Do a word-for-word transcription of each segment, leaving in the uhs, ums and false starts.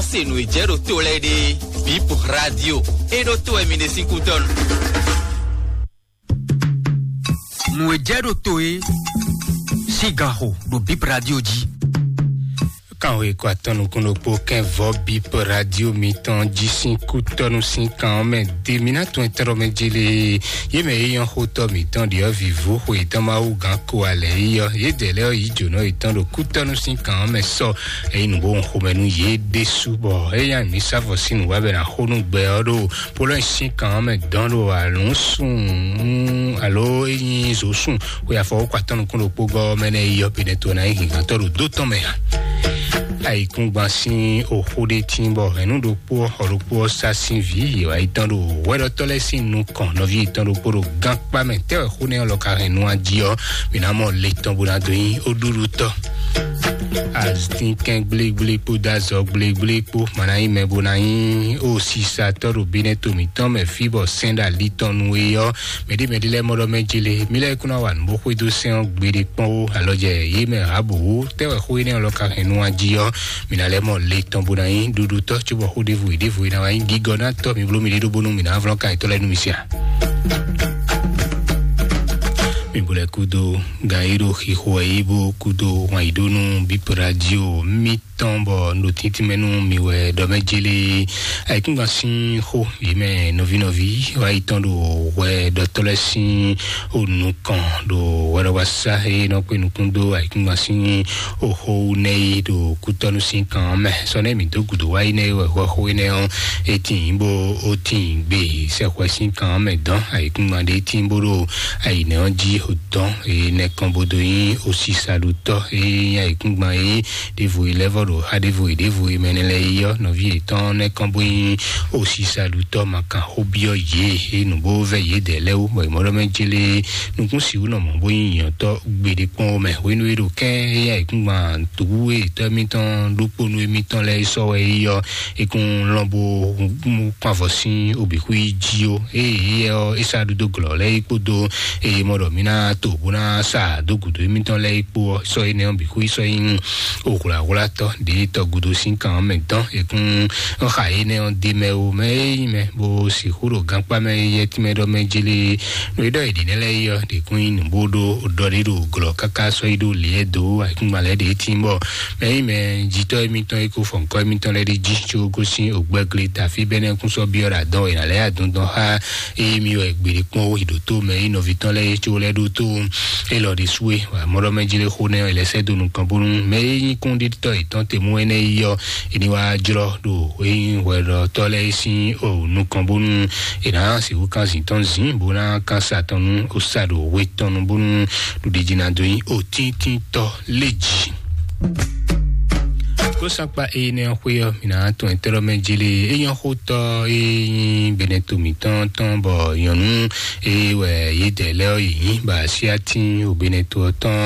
Se nǔ e jɛ ɖo to lɛ́ɛ ɖe, Bip Radio, e ɖo to wɛ mi ɖe sín kútɔ́nu. Nǔ e jɛ ɖo to e sín ganxo ɖo Bip Radio jí. Kanwe kó atɔ́ nukún ɖokpó kɛn vɔ Bip Radio mitɔn jí sín kútɔ́nu sín kan ɔ́ mɛ de mi ná tún ɛtɛ́rɔ mɛ jí lé. Yé mɛ é nyɔ́ xótɔ́ mǐtɔn ɖiɔ́ vǐvú xwe tɔn Mawu gán ko alɛ yi ɔ́, yédɛɛ lɛ́ɛ ɔ́ yǐ jǒnɔ yětɔn ɖo kútɔ́nu sín kan ɔ́ mɛ sɔ. Ényí nǔ bó hun xomɛ nú yě ɖésú, bɔ é nyí mǐ sá vɔ sín nǔ wá bɛ ná xó nú gbɛ ɔ́ ɖo Polónyi sín kan ɔ́ mɛ dɔn ɖo alǔsún alo ényí zǒsún xwe afɔwókɔ atɔ́ nukún ɖokpó gɔ́ ɔ́ mɛ nɛ́ yi ɔ́, Benɛto ná nyí hǐngantɔ́ ɖo dó tɔn mɛ ǎ. Ayǐkúngban sín oxó ɖé tín bɔ hɛ̌nnu ɖokpó ɔ́, xɔ ɖokpó ɔ́ sá sín vǐ yě wá yi tɔ́n ɖo hwɛɖɔtɔ́ lɛ́ɛ sín nukɔn, nɔví yětɔn ɖokpó ɖo gánkpá mɛ. Tɛ́ wɛ xó nɛ́ ɔ́ lɔ ka hɛn nu a jí ɔ́, mǐ ná mɔ le tɔn bó ná dó nyí ó ɖuɖu tɔ́. Azínkɛ́n gblégblé kpódó azɔ gblégblé kpó ma ná nyí mɛ bó ná nyí ó sisatɔ́ ɖo Benɛto mǐtɔn mɛ fí bɔ sɛ́n ɖo ali tɔn nú é ɔ́, mɛɖé mɛɖé lɛ́ɛ mɔ ɖɔ mɛ jele mí lɛ́ɛ kún ná wa nǔ bó xwedó sɛ́n ɔ́ gbeɖé kpɔ́n ó. Alɔ jɛ yě mɛ ǎ bǒ. Tɛ́ wɛ xó énɛ́ ɔ́ lɔ ka hɛn nu a jí ɔ́, mǐ ná lɛ́ mɔ le tɔn bó ná nyí ɖuɖutɔ́ cóbɔ xó ɖěvo e ɖěvo e ná wá nyí gígɔ ná tɔ́ mi bló mi ɖé ɖó bónú mǐ ná vlɔ́n kan yětɔn lɛ́ɛ nú mi sia. Mi bo lɛ kúdó gan yi ɖo xixo wɛ yi bó kúdó wǎn yi ɖó nú Bip Radio mi tɔn bɔ un ɖo tíntín mɛ nú mi wɛ ɖɔ mɛ jélé. Ayǐkúngban sín xó yě mɛ nɔví nɔví wá yi tɔn ɖo hwɛ ɖɔtɔ́ lɛ́ɛ sín o nukɔn ɖo hwɛɖɔwasá e nɔ kpé nukún dó ayǐkúngban sín oxó nɛ́ yi ɖo kútɔ́nú sín kan ɔ́ mɛ. Sɔ nɛ́ mǐ dó gǔdo wá yi nɛ́ wɛ hwɛxó énɛ́ ɔ́, é tíin bó ó tíin gbe sɛxwɛ sín kan ɔ́ mɛ dɔn. Ayǐkúngban ɖé tíin bó ɖo ayǐnɛ ɔ́ jí o dɔn e nɛkɔn bó dó nyí osísaɖutɔ́ e nyí ayǐkúngban e ɖěvo e lɛ́ vɔ ɖo xá ɖěvo e ɖěvo e mɛ nɛ́ lɛ́ɛ yi ɔ́, nɔví yětɔn nɛ́ kɔn bó nyí osísaɖutɔ́ ma kan xó byɔ́ yě e nǔ bó vɛ́ yědɛɛ lɛ́ɛ wú, bɔ è mɔ ɖɔ mɛ jélé nukún sixú nɔ mɔ̌ bó nyí nyǐnyɔ́tɔ́ gbeɖé kpɔ́n ó mɛ. Hwenu e ɖo kɛ́n e nyí ayǐkúngban tǔwú e tɔ́ émítɔn ɖokpónú émítɔn lɛ́ɛ sɔ́ wɛ é yi ɔ́, é kún lɔn bó kún avɔ sín obǐxwí jí ó. Ée éyɛ́ ɔ́, é sá ɖu dó glɔ̌ lɛ́ɛ é kpódó eye mɔ ɖɔ mǐ ná to bó ná sa dó gǔdo émítɔn lɛ́ɛ é kpó ɔ́, sɔ́ énɛ́ ɔ́ bǐ xwí sɔ́ nyí oxwlǎxwlátɔ́ ɖě tɔgúdo sín kan ɔ́ mɛ dɔn. È kún xa énɛ́ ɔ́ d'é mɛ ó, mɛ e nyí mɛ bó sixú ɖo gankpá mɛ yɛtínmɛ ɖɔ mɛ jélé. Nú é ɖɔ è ɖǐ nɛ́ lɛ́ɛ yi ɔ́, ɖě kún nyí nǔ bó ɖó ɖɔ ɖé ɖo glɔ̌ káká sɔ́ yi ɖó lě ɛ dó ayǐkúngban lɛ́ɛ ɖě tín bɔ mɛ e nyí mɛ jitɔ́ émítɔn e ko fɔ nǔkɔ émítɔn lɛ́ɛ ɖi jí có gosín ògbɛ́glé tafí bɛ́nɛ́ kún sɔ́ byɔ́ ɖo adɔn è nǎ lɛ́ adɔndɔn xá eye mi wɛ gbeɖé kpɔ́n ó yi ɖǒtó mɛ e nɔví tɔn lɛ́ɛ có lɛ́ ɖó tó élɔ́ ɖésú é. Wǎ mɔɖɔ mɛ jlé xó nɛ́ ɔ́, è lɛ́ sɛ́ dó nukɔn bónú mɛ e nyí kúnɖítɔ́ yětɔn te mú énɛ́ yi ɔ́, è ní wá jlɔ́ ɖo é nyí hwɛɖɔtɔ́ lɛ́ɛ sín o nukɔn bónú è nǎ sixú kán zǐn tɔn zǐn bó ná kán sa tɔn nú ó sa ɖo hwe tɔn nu bónú ɖuɖijí ná dó nyí otíntítɔ́ lé jí. Kó sakpa énɛ́ ɔ́ xwé ɔ́, mǐ ná tɔn ɛtɛ́ lɔ mɛ jélé é nyɔ́ xótɔ́ e nyí Benɛto mǐtɔn tɔn bɔ nyɔ̌nu e wɛ yědɛɛ lɛ́ɛ ɔ́ yě nyí bɔ asyátín o Benɛto ɔ́ tɔn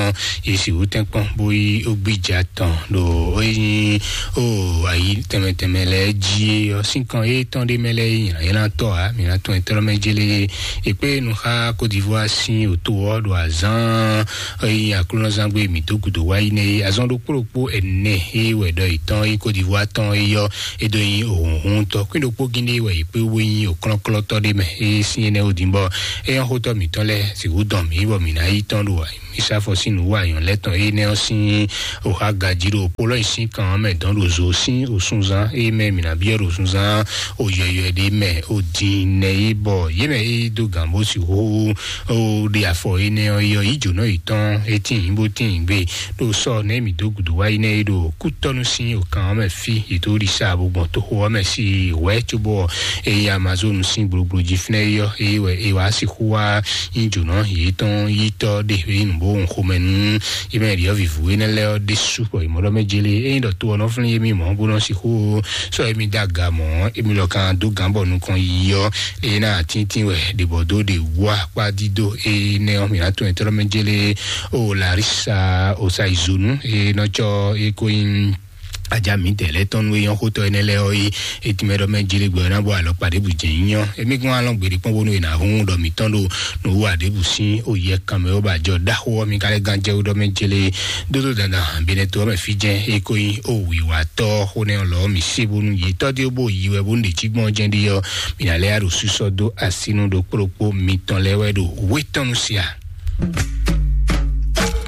yě sixú tɛ́nkpɔ́n bó yí ó gbíja tɔn ɖo é nyí o ayi tɛnmɛ tɛnmɛ lɛ́ɛ jí é ɔ́ sín kan étɔn ɖé mɛ lɛ́ɛ nyí nylǎnylǎntɔ́ ǎ. Mǐ ná tɔn ɛtɛ́ lɔ mɛ jélé è kpé nu xá Côte d'Ivoire sín òto ɔ́ ɖo azǎn e nyí aklúnɔzán gbé mǐ dó gǔdo wá yi nɛ́ é. Azɔn ɖokpó ɖokpó ɛnɛ e wɛ ɖɔ yětɔn e Côte d'Ivoire tɔn é yɔ́ é dó nyí òhunhun tɔn kwín ɖokpó gíndé wɛ yě kpé wú nyí òklɔ́klɔ́tɔ́ ɖé mɛ é sín énɛ́ ó dín bɔ é nyɔ́ xótɔ́ mǐtɔn lɛ́ɛ sixú dɔn mǐ bɔ mǐ ná yi tɔn ɖo mǐ sá afɔ sín nǔ wa nyɔ̌ lɛ́ɛ tɔn énɛ́ ɔ́ sín òxá gají ɖo Polónyi sín kan ɔ́ mɛ dɔn ɖo zo sín òsúnzán é mɛ mǐ ná byɔ́ ɖo òsúnzán òyɔyɔ ɖé mɛ ó dín nɛ é bɔ yě mɛ é dó gǎn bó sixú ó ɖe afɔ énɛ́ ɔ́ yɔ yí jǒnɔ yětɔn é tíin bó tíin gbe ɖo sɔ nɛ́ mǐ dó gǔdo wá yi nɛ́ é ɖo kútɔ́nú sín òkan ɔ́ mɛ fí yě tó ɖi sa bó gbɔn toxo ɔ́ mɛ sí wɛ̌ cóbɔ é yí Amazonu sín gblogblo jí fínɛ́ é yɔ é wɛ é wá sixú wá nyí jǒnɔ yětɔn yítɔ́ ɖe é nǔ bó hun xomɛ nú yě mɛ ɖyɔ̌vǐvú énɛ́ lɛ́ɛ ɔ́ ɖésú bɔ yě mɔ ɖɔ mɛ jélé é nyí ɖɔ to ɔ́ nɔ flín yé mì mɔ̌ bó nɔ sixú sɔ́ émí dó aga mɔ̌ émí lɔ kan dó gǎn bɔ nukɔn yi ɔ́ é ná atíntìn wɛ ɖě bɔ dó ɖě wú akpá dídó énɛ́ ɔ́ mǐ ná tɔn ɛtɛ́ lɔ mɛ jélé ó Larisa Osaizonu é nɔ cɔ é kó nyí Ajá mi tɛ lɛ tɔn nú eyɔn xótɔ énɛ́ lɛ ɔ́ yi. Etimɛ ɖɔ mɛ jele gbɛ ná bɔ alɔ kpa ɖěbù jɛ nyɔ. Emi kún alɔ gbèdé kpɔn bónú yena hún ɖɔ mi tɔn ɖo nǔ wa ɖěbù sín oyɛ kanmɛ ɔ́ ba jɔ ɖaxó ɔ́ mi ka lɛ gan jɛ ɖɔ mɛ jele dódó dandan hàn bínɛ tó ɔ́ mɛ fí jɛ. E ko nyi o wiwa tɔ xó nɛ lɔ mi se bónú yi tɔ dé bó yi wɛ bónú ɖe jí gbɔn jɛ ɖi ɔ́. Mi na lɛ ya ɖo susɔ dó asinu ɖo kplokpó mitɔn lɛ wɛ ɖo wétɔnu sia.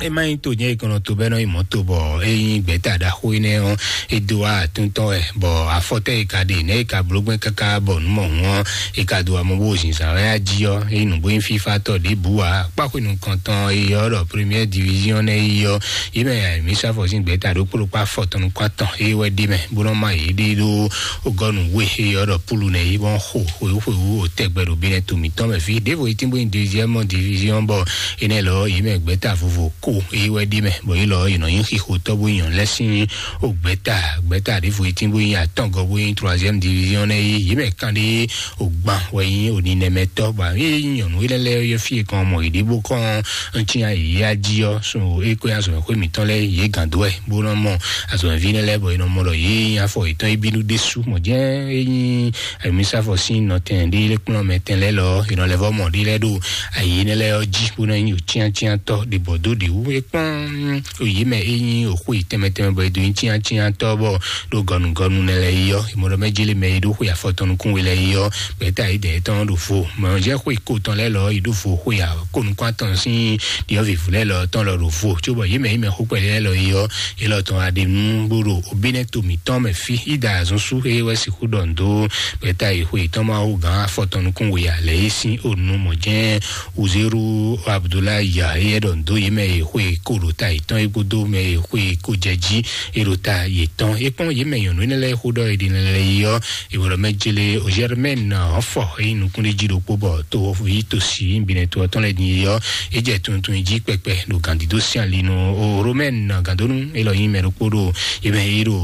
E ma nyí to nyɛ e kɔnɔ to bɛnɔ yi mɔto bɔ e nyí gbɛta ɖaxó yi nɛ ɔ́, e do wa atúntɔ wɛ bɔ afɔtɛ yi ka ɖe nɛ yi ka bló gbɛn kaka bɔ nú mɔ hun ɔ́, yi ka do amɔ bó zinzan wɛ ají ɔ́, e nǔgbó nyí fífá tɔ ɖěbǔ ǎ. Kpáxwenu kɔntɔn e yɔ ɖɔ première division nɛ yi ɔ́, yi mɛ ya mi sa fɔ sín gbɛta ɖó kpló kpá fɔtɔn nukún atɔn e wɛ ɖi mɛ bó nɔ ma yě ɖe ɖó ogɔnu we e yɔ ɖɔ pulu nɛ yi bɔ xo xwewú xwewú o tɛgbɛ ɖo bí nɛ to mǐtɔn mɛ fí ɖěvo yi tínbó nyi deuxième division bɔ enɛ lɔ yi mɛ gbɛta vovo ko yi wɛ ɖi mɛ bɔ yi lɔ yi nɔ nyi xixo tɔbu nyɔ lɛ sín o gbɛta gbɛta ɖěvo yi tínbó nyi atɔngɔ bó nyi troisième division nɛ yi yi mɛ kan ɖe o gban wɛ nyi o ninɛmɛtɔ ba yi nyɔnu yi lɛ lɛ yɔ fie kan mɔ yi ɖibo kɔn ntí ya yi ya jí ɔ so e ko ya zɔn xwe mǐtɔn lɛ yi gando wɛ bó nɔ mɔ azɔnvi nɛ lɛ bɔ yi nɔ mɔ lɔ yi afɔ yi tɔn yi bínú ɖésú mɔ jẹ́ e nyi Ayɔmísàfɔ sín nɔtɛn ɖé lé kplɔ́n mɛ tɛn lɛ́ɛ lɔ, è nɔ lɛ́ vɔ́ mɔ ɖé lɛ́ɛ ɖo ayǐ énɛ́ lɛ́ɛ ɔ́ jí, bó ná nyí òcíantíantɔ́ ɖe bɔ dó ɖě wú. É kpɔ́n òyǐ mɛ é nyí òxó yi tɛnmɛ tɛnmɛ bɔ è dó nyí cíantíantɔ́ bɔ ɖo gɔnugɔnu nɛ lɛ́ɛ yi ɔ́, è mɔ ɖɔ mɛ jélé mɛ yi ɖó xwe afɔtɔn nukún we lɛ́ɛ yi ɔ́, gbɛ̌ta yi dɛ̌ tɔn ɖo vo. Mɛ ɔ́ jẹ́ xwe ko tɔn lɛ́ɛ lɔ yi ɖó vo xwe akónukún atɔn sín ɖiɔ́vǐvú lɛ́ɛ lɔ tɔn lɔ ɖo vo. Cóbɔ yě mɛ yi mɛ xó kpɛɖé lɛ́ɛ lɔ yi ɔ́, yě lɔ tɔn aɖe nú bó ɖo òbínɛ́ to mǐtɔn mɛ fí. Ída azɔn sú é wɛ sixú ɖɔ ndo gbɛta yi xwe tɔn Mawu gán afɔtɔn nukún we alɛ é sín onu mɔ jɛ́n Uzeru Abdulayi ya é ɖɔ ndo yě mɛ yi xwe ko ɖo ta yětɔn é kpódó mɛ yi xwe ko jɛ jí é ɖo ta yětɔn. É kpɔ́n yě mɛ nyɔ̌nu énɛ́ lɛ́ɛ xó ɖɔ é ɖi lɛ yi ɔ́, ìwòlò mɛ jele òjɛrɛmɛn ɔfɔ é nukún ɖé jí ɖokpó bɔ to yi to si binɛ to ɔtɔn lɛ din yi ɔ́, é jɛ tuntun jí kpɛkpɛ ɖo gǎndídó sín ali nú o romɛn gǎndónú é lɔ nyí mɛ ɖokpó ɖo é mɛ é ɖo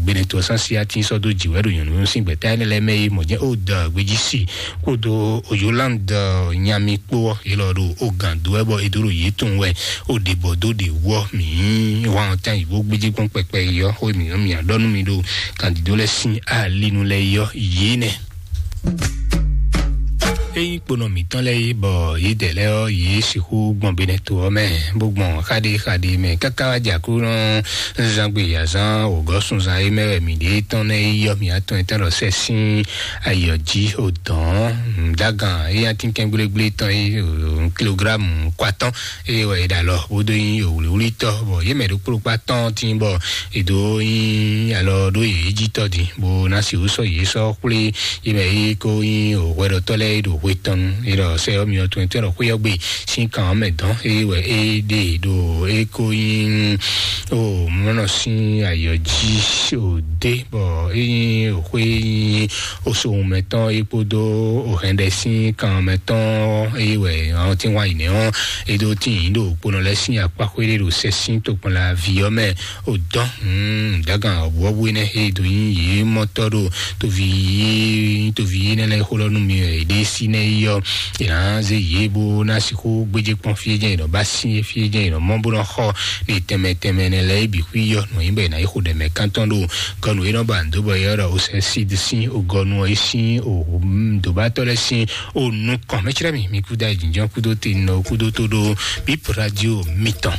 gbɛnɛtɔ sánsi atín sɔ́ dó jǐ wɛ ɖo nyɔ̌nu sín gbɛ̌ta énɛ́ lɛ́ɛ mɛ é mɔ jɛ́n ó da gbéjí si kpódó o Yolande nyami kpó ɔ́ é lɔ ɖo o gǎndó wɛ bɔ é dó ɖo yě tun wɛ ó ɖe bɔ dó ɖe wɔ mǐ wá ɔ́ tán yě bó gbéjé kpɔ́n kpɛkpɛ yi ɔ́ xó mǐ ɔ́ mǐ á ɖɔ nú mi ɖo gǎndídó lɛ́ɛ sín ali nú lɛ́ɛ yi ɔ́ yě nɛ. Ényí kponɔ mǐtɔn lɛ́ɛ yí bɔ yědɛɛ lɛ́ɛ ɔ́, yě sixú gbɔn benɛto ɔ́ mɛ, bó gbɔn xaɖé xaɖé mɛ káká wá jɛ Aklúnɔ zán gbe azán wǒgɔ́ sunzan é mɛ wɛ mǐ ɖe tɔn nɛ́ yí ɔ́, mǐ atɔn etɔn ɖɔ sɛ sín ayɔ jí odɔ̌n nǔdágan é atínkɛn gblégblé tɔn é, kilográmu kwatɔ́n é wɛ é ɖo alɔ bó dó nyí wlǐwlítɔ́, bɔ yě mɛ ɖokpó ɖokpó atɔ́ɔ́n tín bɔ è dǒ nyi alɔ ɖó yě jí tɔ́ din, bó ná sixú sɔ́ yě sɔ́ xwlé yě mɛ é ko nyí hwɛɖɔtɔ́ lɛ́ɛ é ɖo hwe tɔn nu. É ɖɔ sɛ ɔ́ myɔ tɔn tɔn ɖɔ xwé ɔ́ gbe sín kan ɔ́ mɛ dɔn é wɛ é ɖe ɖo é ko nyí o mɔnɔ sín ayɔ jí o dé, bɔ é nyí o xwé nyí o sowun mɛ tɔn é kpódó o hɛn ɖɛ sín kan mɛ tɔn é wɛ ɔ́ tín wá yi nɛ ɔ́ é ɖó tín yǐ ɖo kponɔ lɛ́ɛ sín akpá xwé ɖé ɖo sɛ sín tokpɔnla ví ɔ́ mɛ. O dɔn dagan ɔbɔbɔ énɛ́ he do nyi yě mɔtɔ ɖo tovi yé tovi yé nɛ lɛ xó lɔ nú mi wɛ ɖe sí nɛ yi ɔ, yě ná zé yě bó ná sixú gbéjé kpɔn fí jɛn yě nɔ ba sí fí jɛn yě nɔ mɔ bó nɔ xɔ ní tɛmɛ tɛmɛ nɛ lɛ yi bǐ xwí yɔ nɔ yí bɛ ná yi xo ɖɛ mɛ kántɔn ɖo gɔnu yé nɔ ba ndo bɔ yɛ ɖɔ o sɛ sí de sí o gɔnu ɔ yé sí o dobatɔ lɛ sí o nukɔn mɛ tsrɛ mi mi kú da jínjɔn kúdó te nɔ kúdó tó ɖo bíp radio mitɔn.